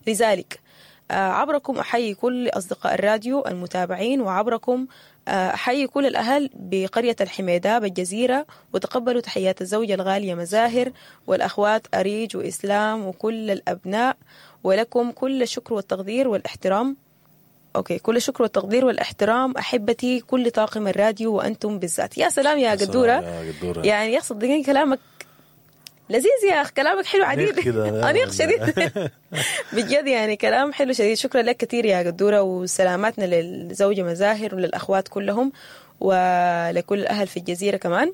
لذلك عبركم أحيي كل أصدقاء الراديو المتابعين، وعبركم أحيي كل الأهل بقرية الحميداب الجزيرة، وتقبلوا تحيات الزوجة الغالية مزاهر والأخوات أريج وإسلام وكل الأبناء، ولكم كل الشكر والتقدير والاحترام. okay، كل الشكر والتقدير والاحترام أحبتي كل طاقم الراديو وأنتم بالذات. يا سلام يا قدورة. يا قدورة. يعني يا صدقني كلامك لذيذ يا أخ، كلامك حلو عديد. كده. أنيق شديد بجد، يعني كلام حلو شديد. شكرا لك كثير يا قدورة، وسلاماتنا للزوجة مزاهر وللأخوات كلهم ولكل الأهل في الجزيرة كمان.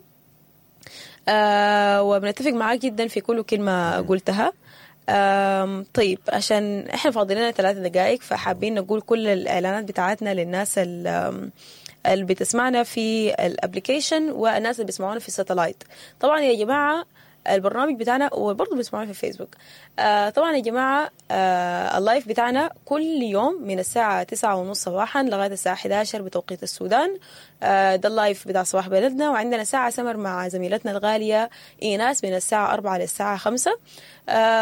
وبنتفق معاك جدا في كل كلمة قلتها. طيب، عشان احنا فاضلين لنا 3 دقائق، فحابين نقول كل الإعلانات بتاعتنا للناس اللي بتسمعنا في ال application والناس اللي بيسمعونا في ال satellite. طبعا يا جماعة البرنامج بتاعنا، وبرضه بيسمعونا في الفيسبوك. طبعا يا جماعة ال live بتاعنا كل يوم من الساعة 9:30 صباحا لغاية الساعة 11 بتوقيت السودان. ده ال live بتاع صباح بلدنا. وعندنا ساعة سمر مع زميلتنا الغالية إيناس من الساعة 4 للساعة 5.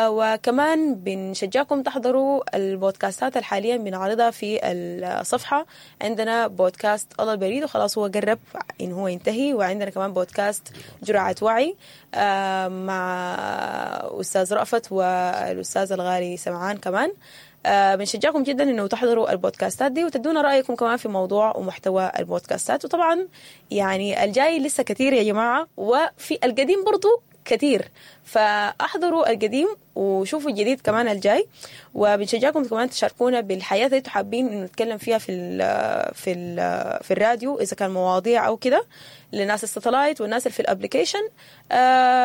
وكمان بنشجعكم تحضروا البودكاستات اللي حاليا بنعرضها في الصفحة. عندنا بودكاست الله البريد، وخلاص هو قرب إن هو ينتهي. وعندنا كمان بودكاست جرعة وعي مع أستاذ رأفت والأستاذ الغالي سمعان كمان. بنشجعكم جدا انه تحضروا البودكاستات دي وتدونا رايكم كمان في موضوع ومحتوى البودكاستات. وطبعا يعني الجاي لسه كثير يا جماعه، وفي القديم برضو كثير، فاحضروا القديم وشوفوا الجديد كمان الجاي. وبنشجعكم كمان تشاركونا بالحاجات اللي انتم حابين انه نتكلم فيها في الراديو، اذا كان مواضيع او كده، لناس ال satellite والناس اللي في ال application.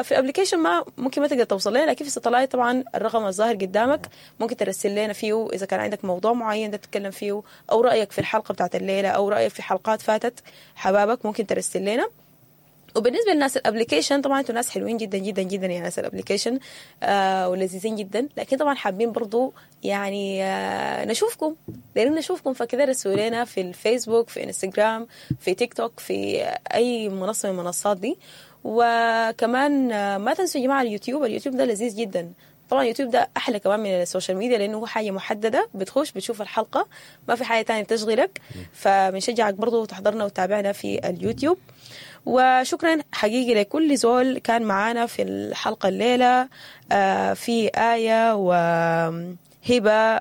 في ال application ما ممكن ما تقدر توصل لنا، لكن في ال satellite طبعا الرقم الظاهر قدامك ممكن ترسل لنا فيه اذا كان عندك موضوع معين ده تتكلم فيه، او رايك في الحلقة بتاعت الليله، او رايك في حلقات فاتت حبابك، ممكن ترسل لنا. وبالنسبة للناس ال application، طبعا انتوا ناس حلوين جدا جدا جدا يا ناس ال application ولذيذين جدا، لكن طبعا حابين برضو يعني نشوفكم، دايرين نشوفكم، فكده رسلوا لنا في الفيسبوك، في انستغرام، في تيك توك، في اي منصة من المنصات دي. وكمان ما تنسوا يا جماعة اليوتيوب. اليوتيوب ده لذيذ جدا طبعا. اليوتيوب ده احلى كمان من ال social media، لانه هو حاجة محدده، بتخش بتشوف الحلقه، ما في حاجة تانية تشغلك. فبنشجعك برضو تحضرنا وتتابعنا في اليوتيوب. وشكرا حقيقي لكل زول كان معانا في الحلقة الليلة، في آية وهبة،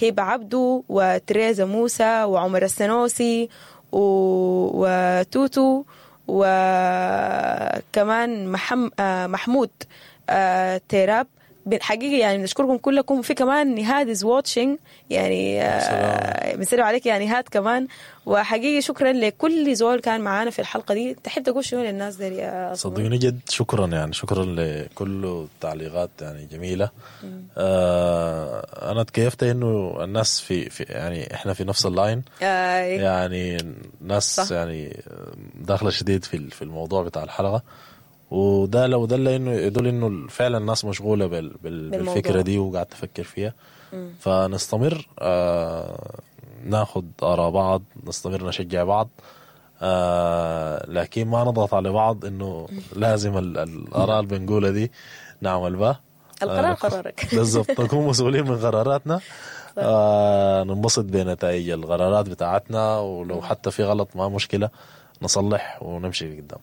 هبة عبدو، وتريزا موسى، وعمر السنوسي، وتوتو، وكمان محمود تيراب. حقيقي يعني بنشكركم كلكم. في كمان نهاد is watching، يعني بنسلم عليك يا نهاد كمان. وحقيقي شكرا لكل زول كان معانا في الحلقة دي. تحب تقول شنو للناس دي يا صمويل؟ صدقني جد شكرا، يعني شكرا لكل التعليقات يعني جميلة. أنا تكيفت إنه الناس في يعني إحنا في نفس ال line. يعني ناس يعني داخلة شديد في الموضوع بتاع الحلقة، وده لو دل انه يدل انه فعلا الناس مشغولة بالموضوع. بالفكرة دي وقاعد تفكر فيها. فنستمر ناخد اراء بعض، نستمر نشجع بعض، لكن ما نضغط على بعض انه لازم الاراء اللي بنقولها دي نعمل بها. القرار قرارك. بالضبط، نكون مسؤولين من قراراتنا، ننبسط بنتائج القرارات بتاعتنا، ولو حتى في غلط ما مشكلة، نصلح ونمشي قدام.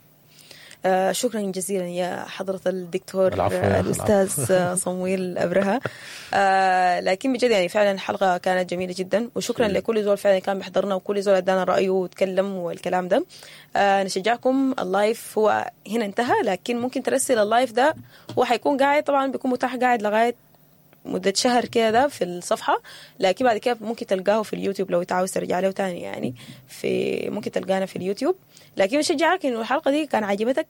شكرا جزيلا يا حضرة الدكتور. العفو يا أخي. الأستاذ صمويل أبرهة. لكن بجد يعني فعلا الحلقة كانت جميلة جدا، وشكرا لكل زول فعلا كان بيحضرنا وكل زول ادانا رأيه وتكلم والكلام ده. نشجعكم، ال live هو هنا انتهى، لكن ممكن ترسل ال live ده، هو حيكون قاعد، طبعا بيكون متاح قاعد لغاية مدة شهر كده ده في الصفحة، لكن بعد كده ممكن تلقاه في اليوتيوب لو انت عاوز ترجع له تاني، يعني في ممكن تلقانا في اليوتيوب. لكن بشجعك انه الحلقة دي كان عجبتك.